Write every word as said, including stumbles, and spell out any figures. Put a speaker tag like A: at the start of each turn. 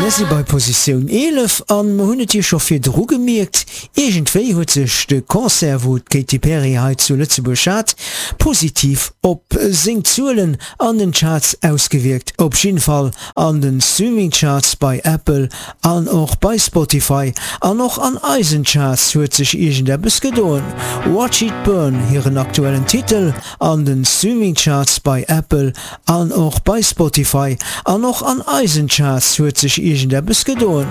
A: Mir si bei Positioun eelef an mir hunn et jo scho virdru gemierkt, iergendwéi huet sech de Concert, wou d'Katy Perry hei zu Lëtzebuerg hat, positiv op seng Zuelen an den Charts ausgewierkt. Op jidde Fall an den Streaming Charts bei Apple an och bei Spotify an och an eisen Charts huet sech iergendeppes gedoen. Watch It Burn, hiren aktuellen Titel an den Streaming Charts bei Apple an och bei Spotify an och an eisen Charts huet sech iergendeppes gedoen.